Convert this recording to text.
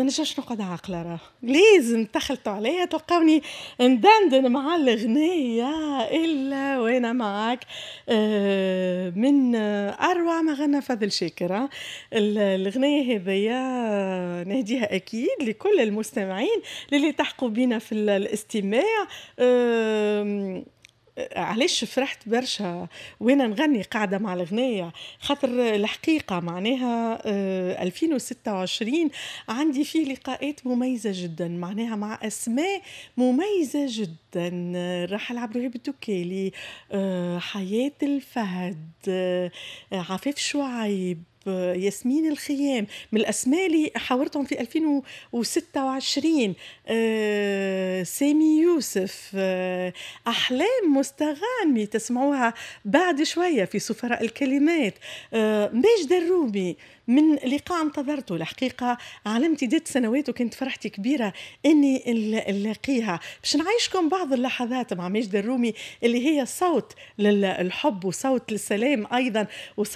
نجمش نقعد عاقلة، راه لازم تخلطوا عليا تلقاوني ندندن مع الغناية إلا وأنا معاك. من أروع ما غنى فضل شاكر الغناية هذيا، نهديها أكيد لكل المستمعين اللي التحقوا بينا في الاستماع. علاش فرحت برشا وانا نغني قاعدة مع الغنايه؟ خاطر الحقيقة معناها 2026 عندي فيه لقاءات مميزة جدا، معناها مع اسماء مميزة جدا: رحل عبد الوهاب الدكالي، حياة الفهد، عفاف شعيب، ياسمين الخيام، من الأسماء اللي حاورتهم في 2026، سامي يوسف، أحلام مستغانمي تسمعوها بعد شوية في سفراء الكلمات، ماجدة الرومي، من لقاء انتظرته الحقيقة على امتداد سنوات وكانت فرحتي كبيرة إني نلاقيها. باش نعيشكم بعض اللحظات مع ماجدة الرومي اللي هي صوت للحب وصوت للسلام أيضا.